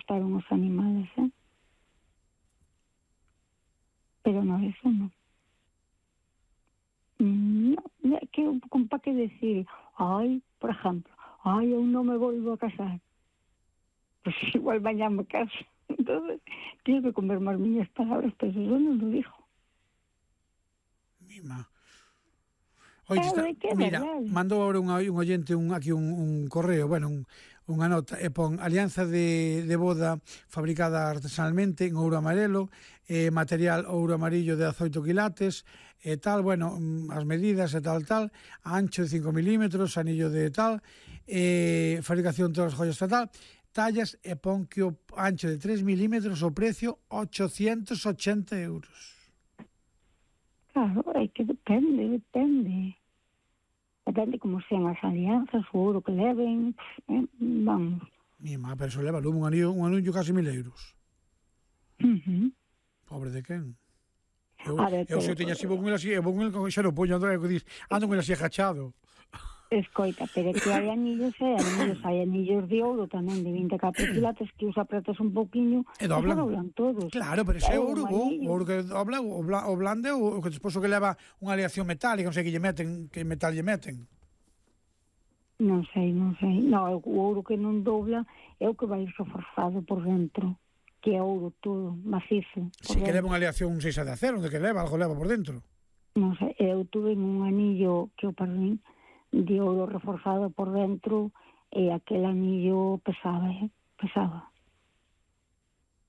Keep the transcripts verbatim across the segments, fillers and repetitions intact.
gustaron os animales, eh? Pero no, eso no. No, que con pa que decir, ai, por exemplo, ai, eu non me volvo a casar. Pues igual mañana me caso. Entonces, tengo que comer más miñas palabras, pero eso non lo dijo. Mima. Oye, está, mira, mandou agora un, un oyente un, aquí un, un correo, bueno, un, unha nota, e pon alianza de, de boda fabricada artesanalmente en ouro amarelo, eh, material ouro amarillo de dezaoito quilates, e tal, bueno, as medidas e tal, tal, ancho de cinco milímetros, anillo de tal, eh, fabricación de todas as joyas tal, tallas, e pon que o ancho de tres milímetros, o precio ochocentos ochenta euros. Claro, é que depende, depende. Depende como sean as alianzas, o ouro que leven, eh, vamos. Mi má, pero eso leva un anillo, un anillo casi mil euros. Uh-huh. Pobre de quen? Eu, ver, eu se teña así, vou con el así, vou con el xa non poño, ando, ando con el así agachado. Escoita, pero que hai anillos e anillos, hai anillos de ouro tamén de vinte e catro quilates que os apretas un pouquiño e doblan. E doblan todos. Claro, pero ese é ouro, o ouro que dobla, o, bla, o blande, o que despois o que leva unha aleación metálica, non sei que lle meten, que metal lle meten. Non sei, non sei. No, o ouro que non dobla é o que vai reforzado por dentro, que é ouro todo, macizo. Si que leva unha aleación seis de acero, onde que leva, algo leva por dentro. Non sei, eu tuve un anillo que o perdín de ouro reforzado por dentro e aquel anillo pesaba, eh? pesaba.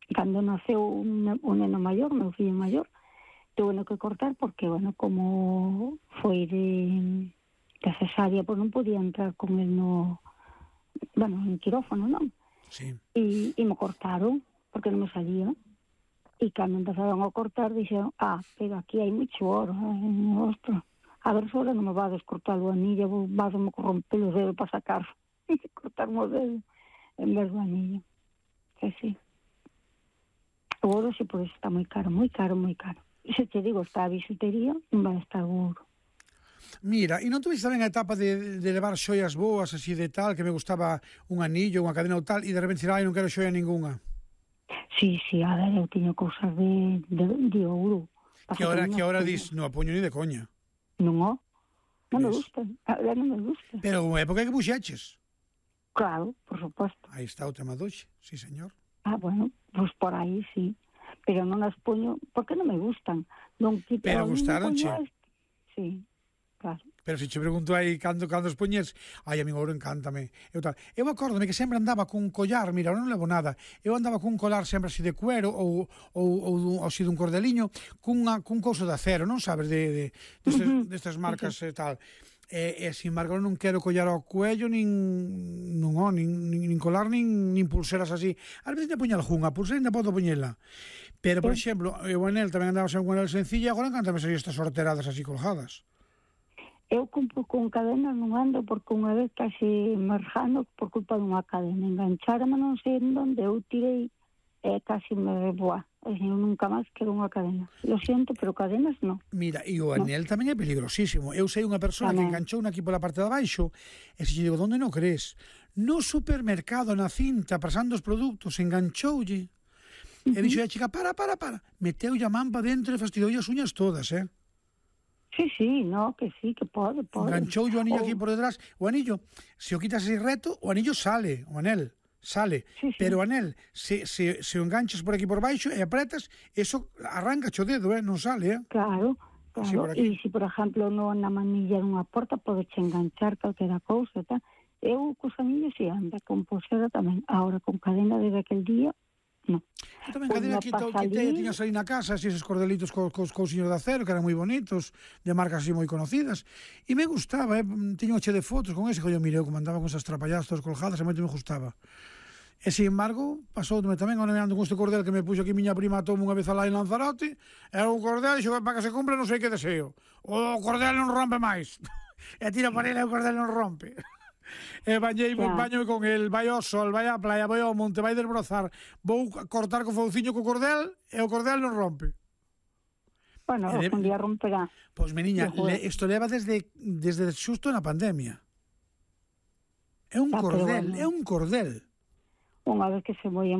Cando naceu un, un neno maior, meu fillo maior, tuve que cortar porque, bueno, como foi de, de cesárea, pois non podía entrar con el no, bueno, en quirófano, non? Sí. E, e me cortaron, porque non me salía. E cando empezaron a cortar, dixeron, ah, pero aquí hai mucho oro, eh, ostras. A ver se ahora non me va a descortar o anillo, vas a me corromper os dedos para sacar e cortarme o dedo en vez do anillo. Que sí. O ouro sí, por eso está moi caro, moi caro, moi caro. E se te digo, está a bisutería, non vai a estar o ouro. Mira, e non tuviste tamén a etapa de, de levar xoias boas, así de tal, que me gustaba un anillo, unha cadena ou tal, e de repente dicir, ai, non quero xoia ninguna? Sí, sí, a ver, eu teño cousas de, de, de ouro. Que ahora, que ahora dis, non a poño ni de coña. Non, non me gusta, a ver, non me gusta. Pero unha época que puxeches. Claro, por suposto. Aí está o tema doxe, sí, señor. Ah, bueno, pois pues por aí, sí. Pero non as poño, porque non me gustan. Non quito, pero gustaronche? Sí, claro. Pero se che pregunto aí cando, cando os poñes, ai, a mí o ouro encántame. Eu, tal. eu acórdome que sempre andaba cun collar, mira, non levo nada, eu andaba cun colar sempre así de cuero ou, ou, ou, ou así dun cordeliño, cunha, cun couso de acero, non sabes, de, de, destes, uh-huh. destas marcas e tal. E, e, sin embargo, non quero collar ao cuello, nin, non, oh, nin, nin, nin colar, nin, nin pulseras así. A veces te poña algunha, pulsera ainda podo poñela. Pero, por exemplo, eu en el tamén andaba sempre con el sencilla, agora encantame sair estas sorteradas así colgadas. Eu compro con cadenas non ando porque unha vez casi marjando por culpa dunha cadena. Engancharme non sei en onde, eu tirei e casi me boa. Eu nunca máis quero unha cadena. Lo siento, pero cadenas non. Mira, e o anel no. tamén é peligrosísimo. Eu sei unha persona tamén que enganchou aquí pola parte de abaixo e se lle digo, onde non crees? No supermercado, na cinta, pasando os produtos, enganchoulle. Uh-huh. E dixo a chica, para, para, para. Meteulle a man para dentro e fastidoulle as uñas todas, eh? Sí, sí, no, que sí, que pode, pode. Enganchou o anillo oh. aquí por detrás. O anillo, se o quitas así reto, o anillo sale, o anel, sale. Sí, sí. Pero o anel, se, se, se o enganchas por aquí por baixo e apretas, eso arranca o dedo, eh? Non sale, eh? Claro, claro. E se, por exemplo, no, na manilla dunha porta, podeche enganchar calquera cousa, tá? Eu, cos anillos, si anda, con pulsera tamén. Ahora, con cadena desde aquel día, non. Eu tamén cadena quitei e tiñas aí na casa así esos cordelitos cos, cos cousiños de acero que eran moi bonitos, de marcas así moi conocidas, e me gustaba, eh? Tiño un che de fotos con ese, que eu mirei como andaba con esas trapallas todas colgadas, e moito me gustaba. E, sin embargo, pasoume tamén agora me ando con este cordel que me puxo aquí miña prima toma unha vez alá en Lanzarote, era un cordel, xo, para que se cumpra non sei que deseo. O cordel non rompe máis. E tira para ele e o cordel non rompe. E bañei, yeah. baño con el, vai ao sol, vai á playa, vai ao monte, vai desbrozar, vou cortar co fouciño co cordel e o cordel non rompe. Bueno, de... un día romperá. Pois, meniña, le, isto leva desde, desde xusto na pandemia. É un ah, cordel, bueno. é un cordel. Unha vez que se moi